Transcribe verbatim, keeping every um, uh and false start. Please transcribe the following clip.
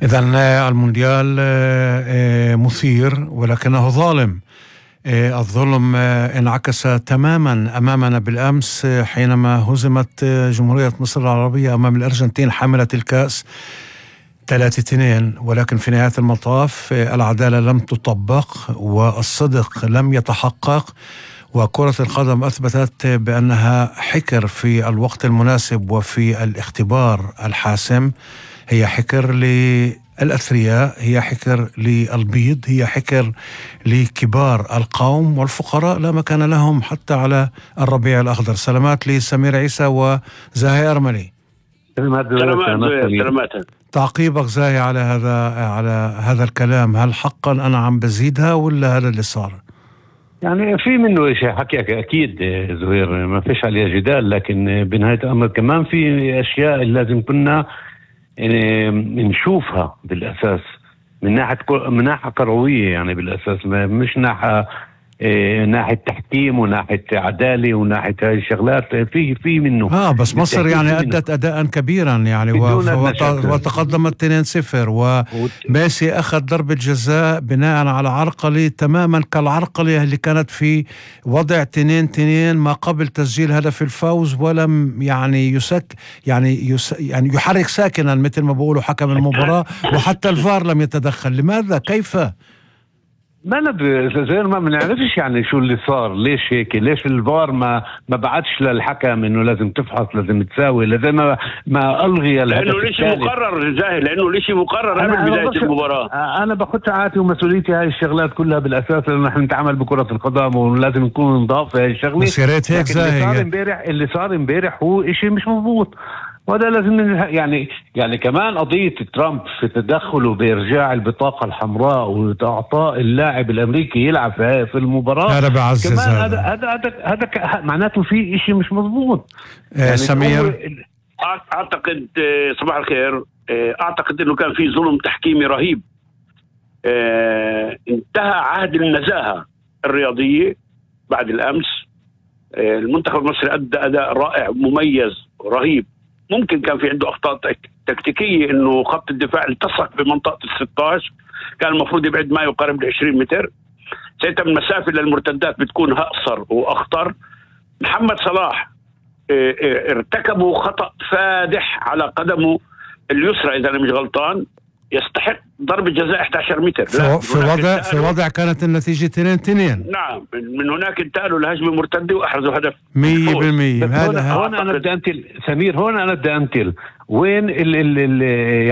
إذن المونديال مثير ولكنه ظالم. الظلم انعكس تماما أمامنا بالأمس حينما هزمت جمهورية مصر العربية أمام الأرجنتين حاملة الكأس ثلاثة اثنين، ولكن في نهاية المطاف العدالة لم تطبق والصدق لم يتحقق، وكرة القدم أثبتت بأنها حكر في الوقت المناسب وفي الاختبار الحاسم. هي حكر للأثرياء، هي حكر للبيض، هي حكر لكبار القوم، والفقراء لا مكان لهم حتى على الربيع الأخضر. سلامات لسمير عيسى وزاهي أرملي. سلامات سلامات. تعقيبك زاهي على هذا على هذا الكلام، هل حقا أنا عم بزيدها ولا هذا اللي صار؟ يعني في منه شيء حكي أكيد زهير، ما فيش عليه جدال، لكن بنهاية الأمر كمان في أشياء اللي لازم كنا يعني نشوفها بالأساس من ناحية من ناحية كروية، يعني بالأساس مش ناحية إيه ناحية تحكيم وناحية عدالة وناحية هاي الشغلات. في في منه اه بس مصر يعني أدت أداء كبيرا يعني وتقدمت اثنين صفر، وميسي أخذ ضربة جزاء بناء على عرقلة تماما كالعرقلة اللي كانت في وضع اثنين اثنين ما قبل تسجيل هدف الفوز، ولم يعني يسك يعني يس يعني يحرك ساكنا مثل ما بقولوا حكم المباراة، وحتى الفار لم يتدخل. لماذا؟ كيف؟ ما أنا زي ما بنعرفش يعني شو اللي صار، ليش هيك، ليش الفار ما ما بعتش للحكم انه لازم تفحص، لازم تساوي، لازم ما, ما الغي الهدف، لانه ليش مقرر جاهل، لانه ليش مقرر قبل بدايه المباراه. انا باخذ ساعاتي ومسؤوليتي هاي الشغلات كلها بالاساس، لانه نحن نتعامل بكره القدم ولازم نكون نضاف في هاي الشغله. بس يا ريت هيك زاهي. اللي صار امبارح اللي صار امبارح هو شيء مش مضبوط، وهذا لازم يعني يعني كمان قضية ترامب في تدخله بإرجاع البطاقة الحمراء وإعطاء اللاعب الأمريكي يلعب في المباراة، هذا بعزز، كمان هذا هذا هذا هذا معناته في إشي مش مضبوط. يعني سمير أعتقد صباح الخير، أعتقد إنه كان في ظلم تحكيمي رهيب. انتهى عهد النزاهة الرياضية بعد الأمس. المنتخب المصري أدى أداء رائع مميز رهيب. ممكن كان في عنده أخطاء تكتيكية، إنه خط الدفاع التصق بمنطقة الستاش، كان المفروض يبعد ما يقارب العشرين متر. ساعتها المسافة للمرتدات بتكون أقصر وأخطر. محمد صلاح ارتكبوا خطأ فادح على قدمه اليسرى إذا أنا مش غلطان، يستحق ضربة جزاء إحدى عشر متر. في وضع في وضع كانت النتيجة اثنين اثنين. نعم، من هناك انتقلوا لهجمة مرتدة وأحرزوا هدف مية بالمية. هذا هون أنا بدي أنتل سمير، هون أنا بدي أنتل وين ال ال ال يعني